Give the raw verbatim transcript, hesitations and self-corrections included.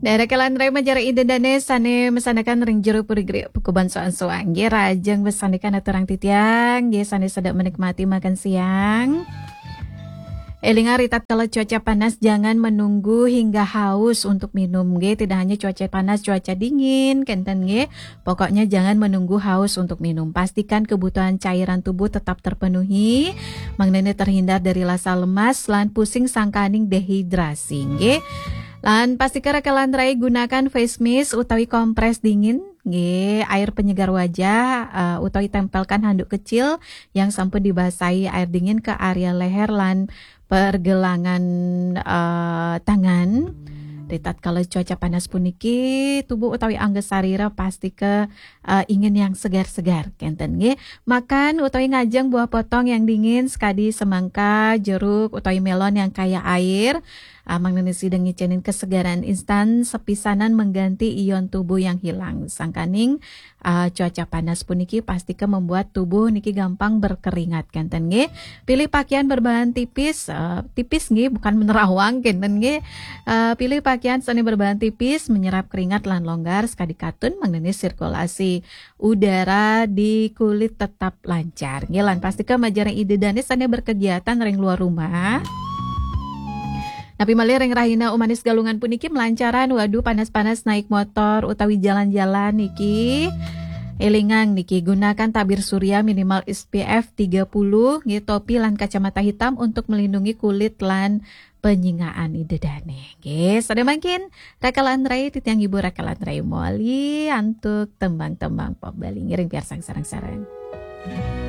Daerah Kelandrai majarah ida dane sane masanakan ring jero puri gri pukuban soang-soang. Nggih, rahajeng masanakan aturang titiang, nggih, sane sedang menikmati makan siang. Elinga ri tatkala cuaca panas, jangan menunggu hingga haus untuk minum, nggih. Tidak hanya cuaca panas, cuaca dingin, kenten, nggih. Pokoknya jangan menunggu haus untuk minum. Pastikan kebutuhan cairan tubuh tetap terpenuhi, mangdane terhindar dari rasa lemas lan pusing sangkaning dehidrasi, nggih. Lan pastika Raka Landrai gunakan face mist utawi kompres dingin, nggih, air penyegar wajah, eh, utawi tempelkan handuk kecil yang sampun dibasahi air dingin ke area leher lan pergelangan, eh, tangan. Ri tatkala cuaca panas puniki, tubuh utawi angga sarira pastika, eh, ingin yang segar-segar, kenten, nggih. Makan utawi ngajeng buah potong yang dingin, sekadi semangka, jeruk, utawi melon yang kaya air. Ah, mangdane sida ngicenin kesegaran instan sepisanan mengganti ion tubuh yang hilang. Sangkaning, ah, cuaca panas puniki pastika membuat tubuh niki gampang berkeringat, kenten, nggih. Pilih pakaian berbahan tipis, eh, tipis, nggih, bukan menerawang, kenten, nggih. Eh, pilih pakaian sane berbahan tipis, menyerap keringat lan longgar, sekadi katun mangdane sirkulasi udara di kulit tetap lancar. Nggih, lan pastika majarah ida dane sane berkegiatan ring luar rumah. Napi malih ring rahina Umanis Galungan puniki melancaran, waduh, panas-panas naik motor utawi jalan-jalan niki. Elingang niki, gunakan tabir surya minimal S P F tiga puluh, nggih, topi lan kacamata hitam untuk melindungi kulit lan penyingaan ida dane. Nggih, sada mangkin Raka Landrai, titiang ibu Raka Landrai moli antuk tembang-tembang pop Bali, ngiring piarsang sareng-sareng.